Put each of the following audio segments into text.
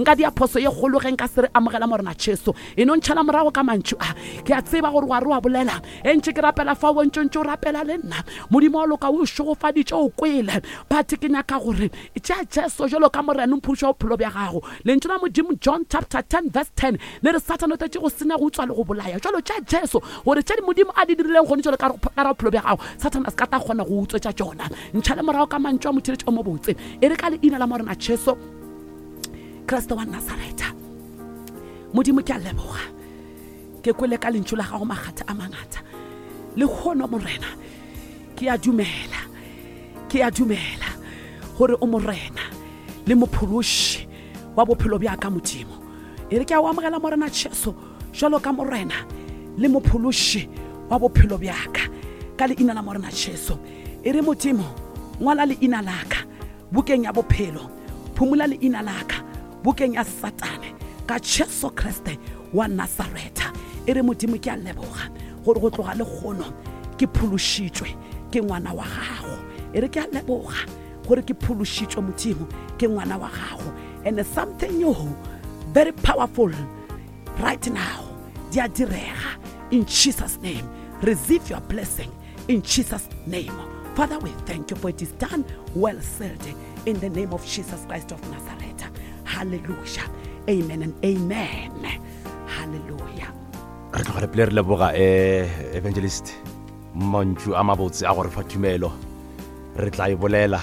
Nka dia phoso ye kgolo ge nka se re amogela Morena Jesu. E no ntšhala morago ka mantšu a. Ke a tseba gore wa re wa bolela. E ntše ke rapela fa o ntše ntše o rapela le nna. Modimo wa loka o šegofaditše o kwele. But ke nyaka gore tšea Jesu jalo ka Morena mphološi wa bophelo bja gago. Lentšu la Modimo John chapter 10 verse 10 le re Sathane o tletše go senya, go utswa le go bolaya. Jalo tšea Jesu gore tše Modimo a di dirileng gone jalo ka ra bophelo bja gago, Sathane a se ka tla kgona go utswetša tšona. Ntšhale morago ka mantšu a motheeletši o mobotse. E re ka leina la Morena Jesu Kriste wa Nasaretha. Modimo ke a leboga. Ke kwele ka lentšu la gago makgatha a mangata. Lehono Morena ke a dumela. Ke a dumela gore o Morena le mophološi wa bophelo bja ka Modimo. E re ke a o amogela Morena Jesu jalo ka Morena le mophološi wa bophelo bja ka ka leina la Morena Jesu. E re Modimo ngwala leina la ka bukeng ya bophelo, phumola leina la ka bukeng ya Satane ka Jesu Kriste wa Nasaretha. E re Modimo ke a leboga gore go tloga lekgono ke phološitšwe ke ngwana wa gago. E re ke a leboga gore ke phološitšwe Modimo ke ngwana wa gago. And something new very powerful right now di a direga in Jesus name. Receive your blessing in Jesus name. Father, we thank you for it is done, well said, in the name of Jesus Christ of Nazareth. Hallelujah. Amen and amen. Hallelujah. Re tloga re pele re leboga eh evangelist mantšu a mabotse a gore fa tumelo re tla e bolela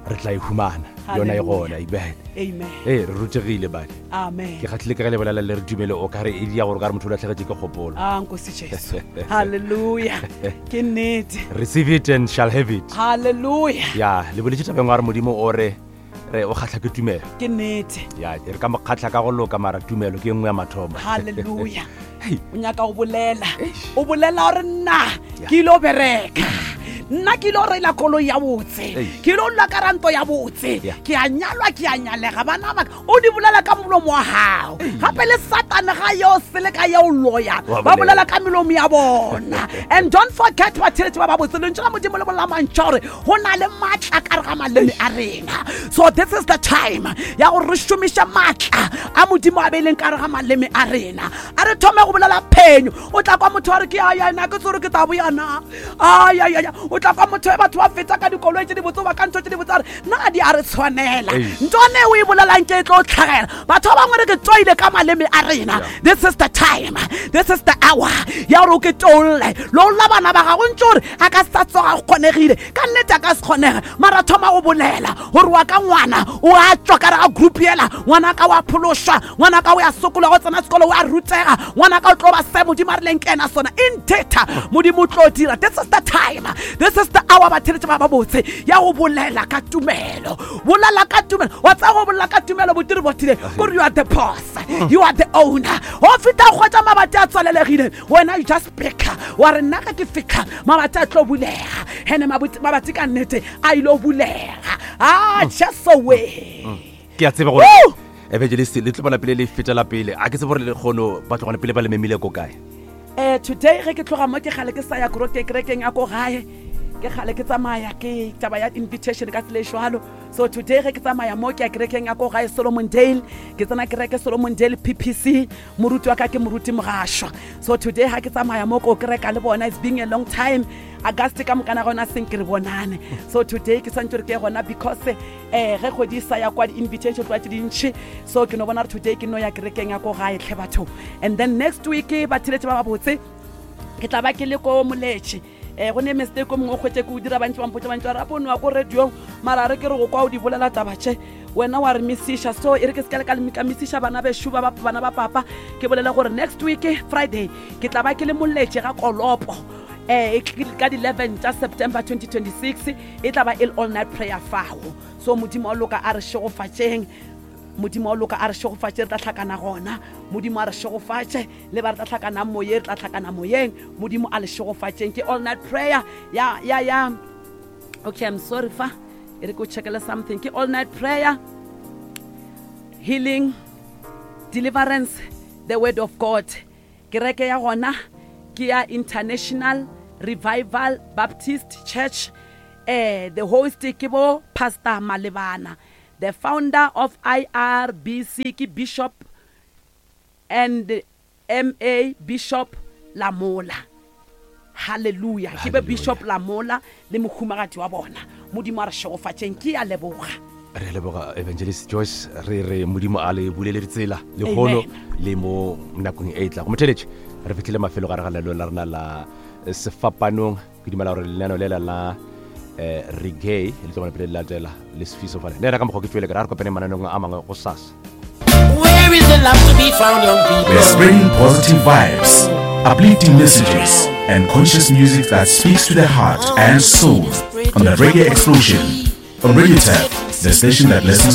re tla e humana yona e gona amen amen ee re rutegile bane amen ke kgatlhile ka ge le bolela le re tumelo o kare e dia gore o kare motho o latlhegetše ke kgopolo a nkosi jesu halleluja ke nnete receive it and shall have it halleluja ya le boletše tabeng wa re modimo o re re o kgatlha ke tumelo ke nnete ya re ka mo kgatlha ka go loka mara tumelo ke e nngwe ya mathomo halleluja o nyaka go bolela o bolela gore nna ke ile o bereka nna ke ile o reila koloi ya botse ke ile o nna ka ranto ya botse ke a nyalwa ke a nyalega bana baka o di bolela ka molomo wa gago gape le satane ga yo sele ka yeo loya ba bolela ka melomo ya bona and don't forget batheletši ba ba botse lentšu la modimo le bolela mantša gore go na le maatla ka re ga maleme a rena so this is the time ya gore re šomiše maatla a modimo a beileng ka re ga maleme a rena a re thome go bolela phenyo o tla kwa motho wa re ke ayana ke tsore ke tabo yana ayayaya o tla kwa motho e batho ba feta ka dikoloi tse di botse ba ka ntho tse di botse a re na di a re tshwanela ntone o e bolelang ke e tlo tlhagela batho ba bangwe re ke tsoile ka maleme a rena this is the time this is the hour ya gore o ke tolle lolla bana ba gago ntse gore a ka sa tsoga go kgonegile ka nnete a ka se kgonege mara thoma go bolela gore wa ka ngwana o a tswa ka re ga group yela ngwana ka wa phološwa ngwana ka o ya sokola go tsena sekolo o a rutega ngwana ka o tlo ba se modimo a rileng ke ena sona in data modimo o tlo dira this is the time this is the hour batheletše ba ba botse ya go bolela ka tumelo bolela ka tumelo wa tsaya go bolela ka tumelo botiri botile kore you are the boss you are the owner go feta go kgwetsa mabati a tswalelegile wena you just pick wa re nna ga ke fitlha mabati a tlo bulega ene mabati ka nnete a ile o bulega a ah, just away mm. ke a tseba gore evangelist le tlo bona pele le fetela pele a ke tsebe gore le kgono ba tlogone pele ba le memile ko kae um today ge ke tloga mo ke gale ke sa ya koroke kerekeng ya ko gae ke gale ke tsamaya ke taba ya invitation ka tsela e jalo so today ge ke tsamaya mo ke ya kerekeng ya ko gae solomon dale ke tsena kereke solomon dale ppc moruti wa ka ke moruti mogašwa so today ga ke tsamaya mo ko kereka le bona it's being a long time auguste ka mokana gona seng ke re bonane so today ke swantse gore ke gona because um ge kgwedi e sa ya kwa di-invitation tloa tse dintšhi so ke no bona gore today ke no ya kerekeng ya ko gae tlhe batho and then next week ba theletše ba ba botse ke tla ba ke le ko moletše um go ne mistake o mongwe o kgwetse ke o dira bantši bampotsa bantši ba re apo nowa ko radiong mara re ke re go kwa o di bolela taba tše wena wa re misiša so e re ke se ka le ka misiša bana bešo ba bana ba papa ke bolele gore next week friday ke tla ba ke le moletše ga kolopo um ka di-11 tša september 2026 e tla ba e le all night prayer fago so modimo wa loka a re šegofatšeng modimo wa loka a re šegofatše re tla hlakana gona modimo a re šegofatše le ba re tla hlakanang moyeng re tla hlakana moyeng modimo a le šegofatšeng ke all night prayer ya ya ya okay i'm sorry fa e re ke o checkele something ke all night prayer healing deliverance the word of god kereke ya gona ke ya international revival baptist church eh the host ke bo pastor malebana. The founder of IRBC ke Bishop and MA Bishop Lamola. Hallelujah. Ke be Bishop Lamola le mohumagadi wa bona. Modimo a re šegofatšeng. Ke a leboga. Re a leboga Evangelist Joyce, re re Modimo a le bulele ditsela lehono le mo nakong e tlago. Motheletši, re fihlile mafelo gare ga lenaneo la rena la eh, sefapanong. Ke dumela gore lenaneo lela la eh, reggae le tlo bona pele le latela le sefiso fale. Le yena ka mokgwa ke tšwele ke ra re kopane mananeong a mangwe go sasa. Where is the love to be found, young people? We're spreading positive vibes, uplifting messages, and conscious music that speaks to the heart and soul on the Reggae Explosion on Radio Tap, the station that listens to